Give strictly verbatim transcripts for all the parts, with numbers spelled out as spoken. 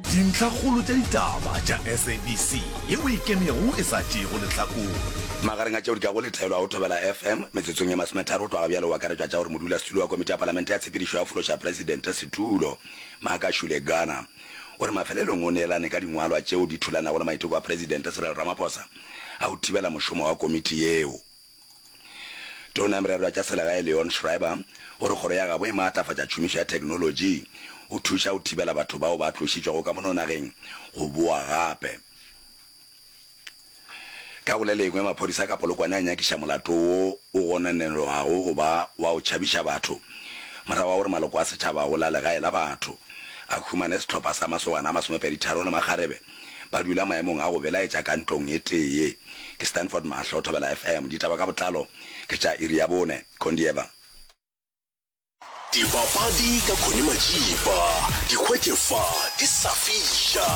Dintlhakgolo tša ditaba tša S A B C yeo e ikemego e sa tšeego lehlakore. Magareng a tšeo di kago letelwa go Thobela F M metsotsong ye masometharo go tloga bjale o akaretšwa tša gore modulasetulo wa komiti ya palamente ya tshepedišo ya go fološa presidente setulo Makashule Gana o re mafelelong o neelane ka dingwalwa tšeo di thulanago le maiteko a Presidente Cyril Ramaphosa a go thibela mošomo wa komiti yeo. Tona ya Merero ya tša Selegae Leon Schreiber o re kgoro ya gabo e maatlafatša tšhomišo ya theknolotši go thuša go thibela batho bao ba tlošitšwego ka mono nageng go boa gape. Ka go le lengwe, maphodisa ka Polokwane a nyakiša molato wo o gononelwago go ba wa go tšhabiša batho morago ga gore maloko a setšhaba go la legae la batho a humane sehlopha sa masogana a masomepedi-tharo le makgarebe ba dula maemong a go belaetša ka ntlong e tee. Ke Stanford Mahlo, Thobela F M. Ditaba ka botlalo ke tša iri ya bone. Kondieva. Dipapadi ka Connie Majiba, di hwetše fa di sa fiša.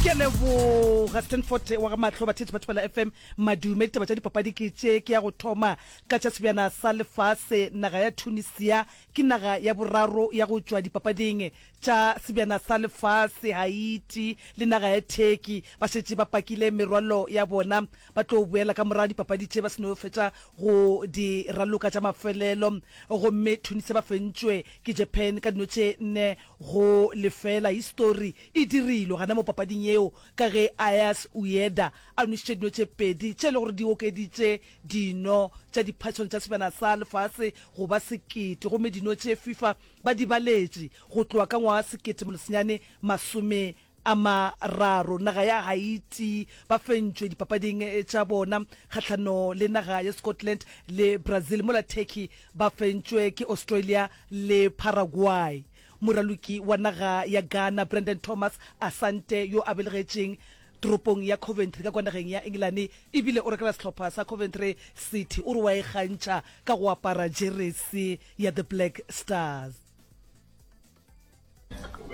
Ke a leboga Stanford wa ga Mahlo. Batheetši ba Thobela F M, madume. Ditaba tša dipapadi ke tše. Ke ya go thoma ka tša sebjana sa lefase. Naga ya Tunisia ke naga ya boraro ya go tšwa dipapading tša sebjana sa lefase. Haiti le naga ya Turkey ba šetše ba pakile merwalo ya bona, ba tlo boela ka morago dipapadi tše ba se no fetša go di raloka tša mafelelo. Gomme Tunisia ba fentšwe ke Japan ka dino tše nne go lefela. Histori e dirilwe gana mo papading yeo ka ge Ayas Ueda a nwešitše dino tše pedi tše e le gore di okeditše dino tša diphatšong tša sebjana sa lefase go ba sekete, gomme dino tše FIFA ba di baletše go tloga ka ngwaga sekete senyane masome a mararo. Naga ya Haiti ba fentšwe dipapading tša bona kgahlano le naga ya Scotland le Brazil, mola Turkey ba fentšwe ke Australia le Paraguay. Moraloki wa naga ya Ghana Brandon Thomas Asante, yo a belegetšeng toropong ya Coventry ka kwa nageng ya Engelane ebile o rekela sehlopha sa Coventry City, o re wa ikgantšha ka go apara jeresi ya The Black Stars.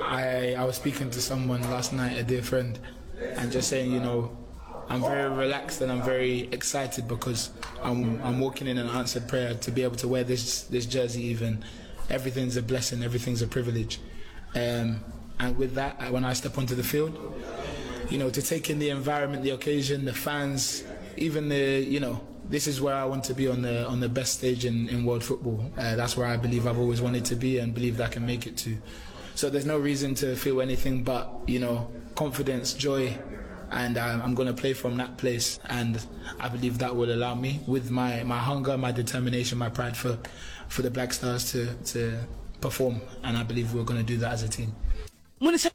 I, I was speaking to someone last night, a dear friend, and just saying, you know, I'm very relaxed and I'm very excited because I'm, I'm walking in an answered prayer to be able to wear this, this jersey even. Everything's a blessing, everything's a privilege. Um, and with that, when I step onto the field, you know, to take in the environment, the occasion, the fans, even the, you know, this is where I want to be on the on the best stage in, in world football. Uh, that's where I believe I've always wanted to be and believe that I can make it to. So there's no reason to feel anything but, you know, confidence, joy, and um, I'm going to play from that place. And I believe that will allow me, with my, my hunger, my determination, my pride for, for the Black Stars to, to perform. And I believe we're going to do that as a team. Moniša